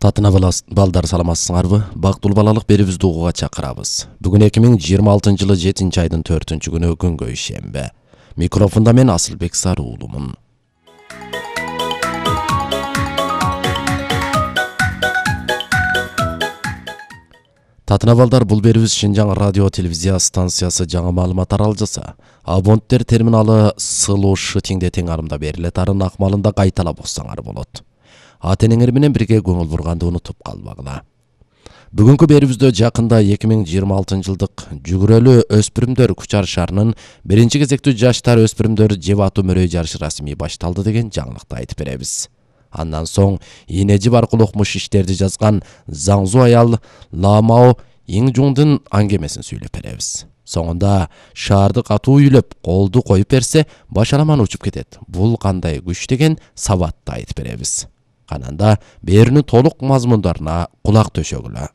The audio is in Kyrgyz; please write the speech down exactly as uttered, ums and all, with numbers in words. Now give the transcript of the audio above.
Татына балдар саламатсыңарбы? Бактылуу балалык берибизди угууга чакырабыз. Бүгүн эки миң жыйырма алтынчы жылы жетинчи айдын төртүнчү күнү күнгө ишембе. Микрофонда мен Асылбек Саруулумун. Татына балдар, бул берибиз Шинжаң радио телевизия станциясы жаңы маалымат таралжаса, абоненттер терминалы сылуу шытиңде тең арымда берилет арын акмалында кайталап окусаңар болот. Ата-энеңер менен бирге көңүл бурганды унутуп калбагыла. Бүгүнкү берибизде жакында эки миң жыйырма алтынчы жылдык жүгүрөлүү өспүрүмдөр күч аршаарынын биринчи кезектүү жаштар өспүрүмдөр жеп атуу мөрөй жарышы расмий башталды деген жаңылыкты айтып беребиз. Андан соң ийне жип аркылуу окмуш иштерди жазган Заңзу аял Ламао Иңжуңдун аңгемесин сүйлөп беребиз. Соңунда шаарды катуу үйлөп, колду коюп берсе, башаламан учуп кетет. Бул кандай күч деген сабатты айтып беребиз. Кананда берүүнүн толук мазмундарына кулак төшөгүлө.